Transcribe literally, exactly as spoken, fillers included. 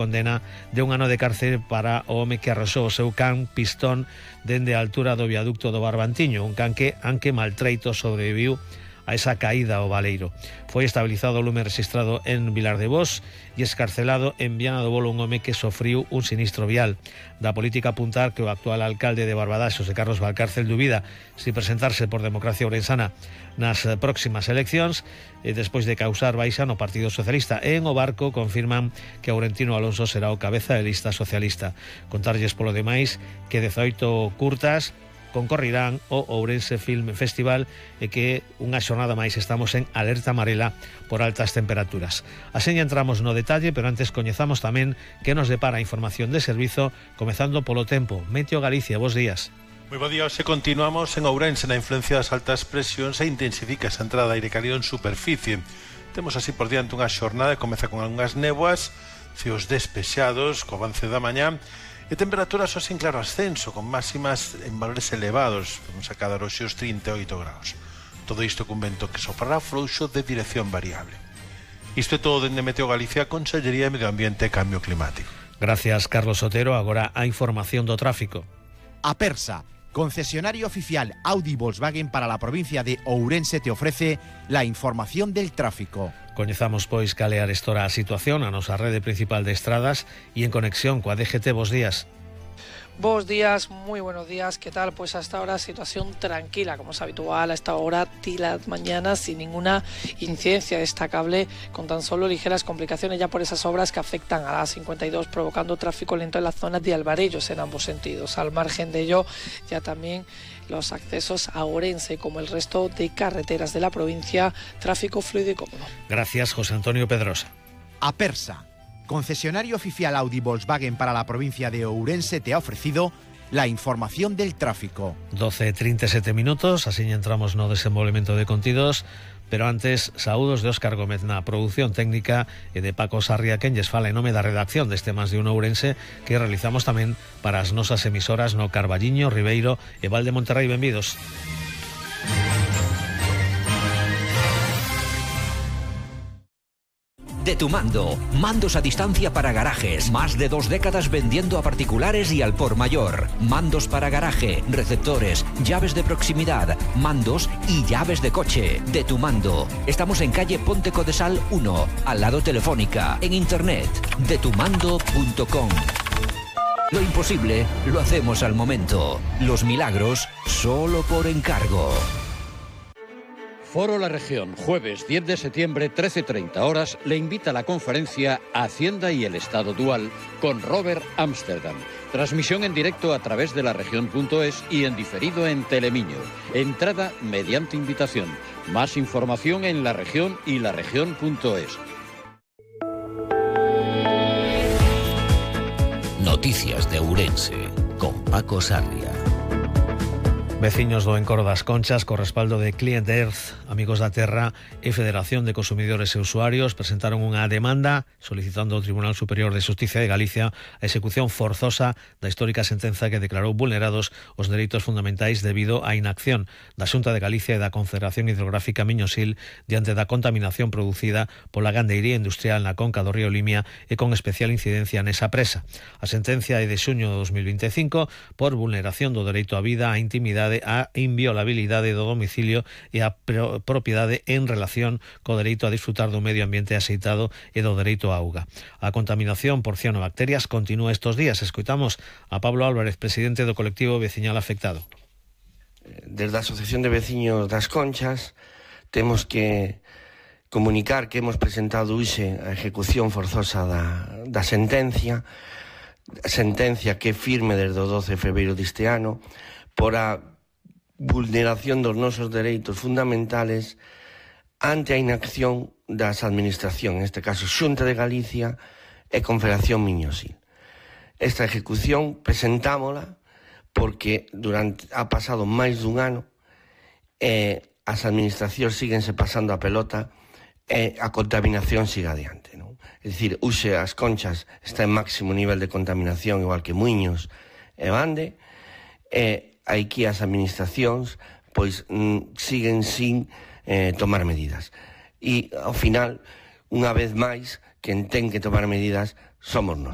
condena de un ano de cárcel para o home que arrasou o seu can pistón dende a altura do viaducto do Barbantiño, un can que, aunque maltreito, sobreviviu a esa caída ao baleiro. Foi estabilizado o lume registrado en Vilar de Bos e escarcelado en Viana do Bolo un home que sofriu un sinistro vial. Da política apuntar que o actual alcalde de Barbadás, José Carlos Valcárcel, dubida si presentarse por Democracia Ourensana nas próximas eleccións e despois de causar baixa no Partido Socialista. E en o Barco confirman que Aurentino Alonso será o cabeza de lista socialista. Contarlles polo demais que dezaoito curtas concorrirán o Ourense Film Festival e que unha xornada máis estamos en alerta amarela por altas temperaturas. Así entramos no detalle, pero antes coñezamos tamén que nos depara a información de servizo, comezando polo tempo. Meteo Galicia, bos días. Moi bo día, hoxe continuamos en Ourense na influencia das altas presións e intensifica esa entrada de aire cálido en superficie. Temos así por diante unha xornada que comeza con algunhas néboas, ceos despexados, co avance da mañá, e temperaturas hoxe en claro ascenso, con máximas en valores elevados. Vamos a cadar hoxe os trinta e oito graus. Todo isto cun vento que soprará frouxo de dirección variable. Isto é todo dende Meteo Galicia, Consellería de Medio Ambiente e Cambio Climático. Gracias, Carlos Otero. Agora a información do tráfico. Apersa, concesionario oficial Audi Volkswagen para la provincia de Ourense, te ofrece la información del tráfico. Coñezamos, pois, cal é arestora a situación a nosa rede principal de estradas e en conexión coa D G T. Bos días. Bos días, muy buenos días. ¿Qué tal? Pues hasta ahora situación tranquila, como es habitual a esta hora de las mañanas, sin ninguna incidencia destacable, con tan solo ligeras complicaciones ya por esas obras que afectan a la A cincuenta y dos, provocando tráfico lento en la zona de Alvarellos en ambos sentidos. Al margen de ello, ya también los accesos a Ourense, como el resto de carreteras de la provincia, tráfico fluido y cómodo. Gracias, José Antonio Pedrosa. Apersa, concesionario oficial Audi Volkswagen para la provincia de Ourense, te ha ofrecido la información del tráfico. doce e trinta e sete minutos, así entramos no desenvolvemento de contidos, pero antes, saúdos de Óscar Gómez na produción técnica e de Paco Sarria, quen lles fala en nome da redacción deste Más de un Ourense, que realizamos tamén para as nosas emisoras no Carballiño, Ribeiro e Val de Monterrey. Benvidos. De tu mando, mandos a distancia para garajes, más de dos décadas vendiendo a particulares y al por mayor. Mandos para garaje, receptores, llaves de proximidad, mandos y llaves de coche. De tu mando. Estamos en calle Ponte Codesal uno, al lado Telefónica, en internet, de tu mando punto com. Lo imposible lo hacemos al momento. Los milagros solo por encargo. Foro La Región, jueves diez de septiembre, trece treinta horas, le invita a la conferencia Hacienda y el Estado Dual con Robert Amsterdam. Transmisión en directo a través de la región punto es y en diferido en Telemiño. Entrada mediante invitación. Más información en La Región y la región punto es. Noticias de Ourense con Paco Sarria. Veciños do Encoro das Conchas, co respaldo de Client Earth, Amigos da Terra e Federación de Consumidores e Usuarios, presentaron unha demanda solicitando ao Tribunal Superior de Xustiza de Galicia a execución forzosa da histórica sentenza que declarou vulnerados os dereitos fundamentais debido á inacción da Xunta de Galicia e da Confederación Hidrográfica Miño-Sil diante da contaminación producida pola gandeiría industrial na conca do río Limia e con especial incidencia nesa presa. A sentencia é de xuño de dos mil vinte e cinco por vulneración do dereito á vida, á intimidade, a inviolabilidade do domicilio e a propiedade en relación co dereito a disfrutar do medio ambiente axeitado e do dereito á auga. A contaminación por cianobacterias continúa estes días. Escoitamos a Pablo Álvarez, presidente do colectivo veciñal afectado. Desde a Asociación de Veciños das Conchas temos que comunicar que hemos presentado hoxe a ejecución forzosa da, da sentencia, sentencia que firme desde o doce de febreiro deste ano, por a vulneración dos nosos dereitos fundamentales ante a inacción das administracións, en este caso Xunta de Galicia e Confederación Miño-Sil. Esta ejecución presentámola porque durante ha pasado máis dun ano e as administracións síguense pasando a pelota e a contaminación siga adiante, non? É dicir, hoxe as Conchas está en máximo nivel de contaminación, igual que Muiños e Bande, e aquí as administracións pois mm, siguen sin eh, tomar medidas. E ao final, unha vez máis, quen ten que tomar medidas somos nos.